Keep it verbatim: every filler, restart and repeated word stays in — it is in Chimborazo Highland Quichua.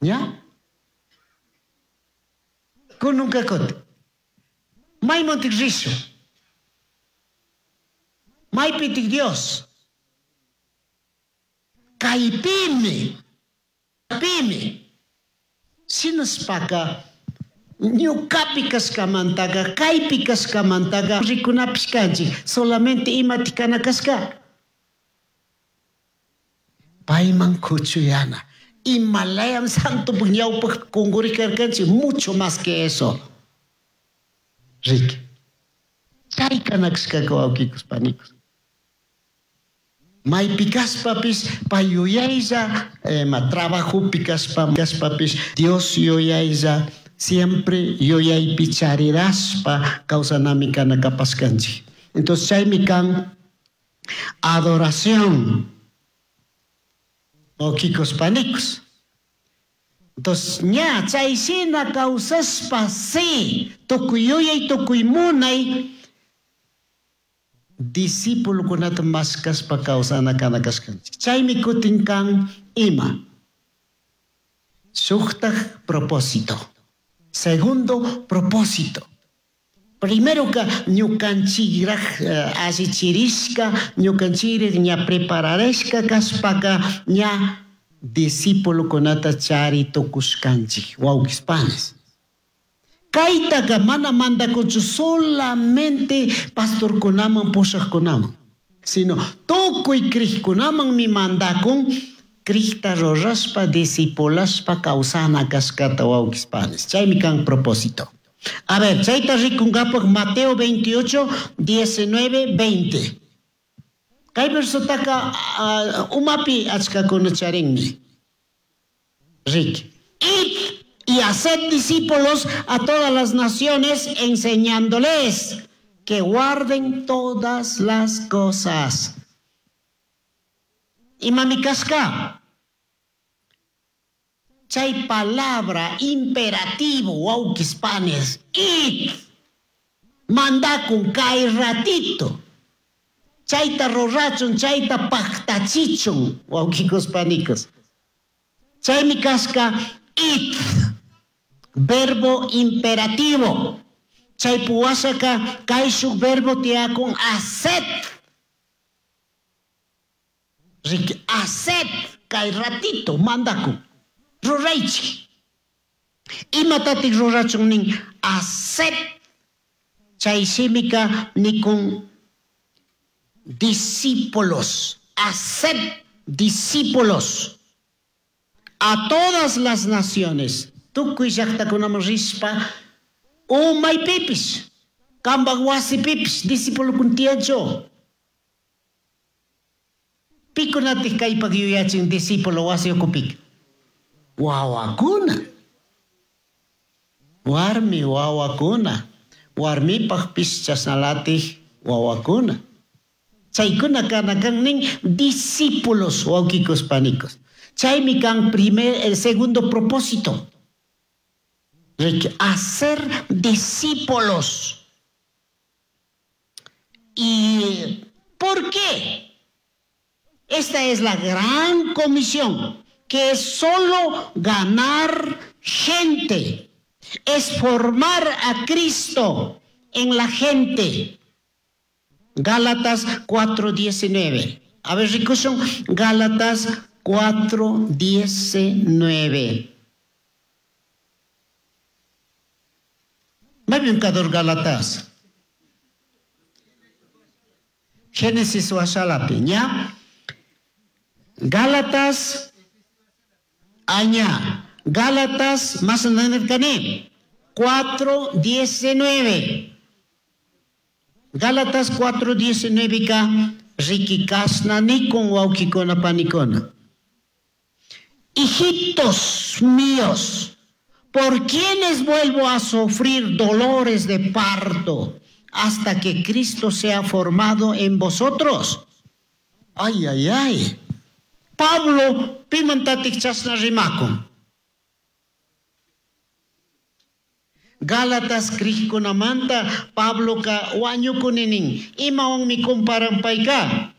Ña? Kununka kutin. Maymantik rishun? Maypitik Dios? Kaypimi. Pimi. Shinashpaka ñukapi kashkamantaqa kaypi kashkamantaqa rikunapish kanchik solamente imatik kana kashka payman kuchuyana imalayam santopuk ñawpak kunkurikarkanchik mucho más que eso riki chay kana kashkaka wawqikus panikus maypi kashpapish pay yuyaylla ma trabajopi kashpa kashpapish Dios yuyaylla siempre yuyaypi charirashpa kawsanami kana kapashkanchik entonces chaymi kan adoración wawqikus panikus entonces ña chayshina kawsashpa si tukuy yuyay tukuy munay discípulokunata mashkashpa kawsana kana kashkanchik chaymi kutin kan ima shuktak propósito segundo propósito primero ka ñukanchikrak allichirishka ñukanchikrak ña prepararishka kashpaka ña discípulokunata chari tukushkanchik wawqis panis kaytaka mana mandakunchu solamente pastorkunaman pushaqkunaman sino tukuy krikkunamanmi mandakun krikta rurashpa discipulashpa kawsana kashkata wawqis panis chaymi kan propósito a ver chayta rikunkapak Mateo veintiocho diecinueve veinte kay versotaka uh, umapi achkakuna charinmi riki id y haced discípulos a todas las naciones enseñándoles que guarden todas las cosas. Imami kashka chay palabra imperativo wawqis panis id mandakun kay ratito chayta rurachun chayta paktachichun wawqikus panikus chaymi kashka id verbo imperativo chay puwashaka kayshuk verbo tiyakun haced riki haced kay ratito mandakun ruraychik imatatik rurachun nin haced chay shimika nikun discípulos haced discípulos a todas las naciones tukuy llaqtakunaman rishpa umaypipish kampak wasipipish discipulokuna tiyanchu pikunatik kaypak yuyachin discípulo wasi ukupika wawakuna warmi wawakuna warmipakpish chashnalatik wawakuna chaykuna kana kan nin discípulos wawqikus panikus chaymi kan primer el segundo propósito hacer discípulos. ¿Y por qué? Esta es la gran comisión, que es solo ganar gente, es formar a Cristo en la gente. Gálatas cuatro diecinueve. A ver, rikushun, Gálatas cuatro diecinueve. Maypim kador Gálatas. Génesis washalapi, ña. Gálatas, aña. Gálatas, más adelante, cuatro diecinueve. Gálatas cuatro diecinueve ka rikikasna nikon wawkikuna panikuna. Hijitos míos, ¿por quiénes vuelvo a sufrir dolores de parto hasta que Cristo sea formado en vosotros? Ay, ay, ay. Pablo, pimantatik chasna rimakun. Gálatas krikkunamanta Pablo ka wañukuninin. Imawanmi comparan payka?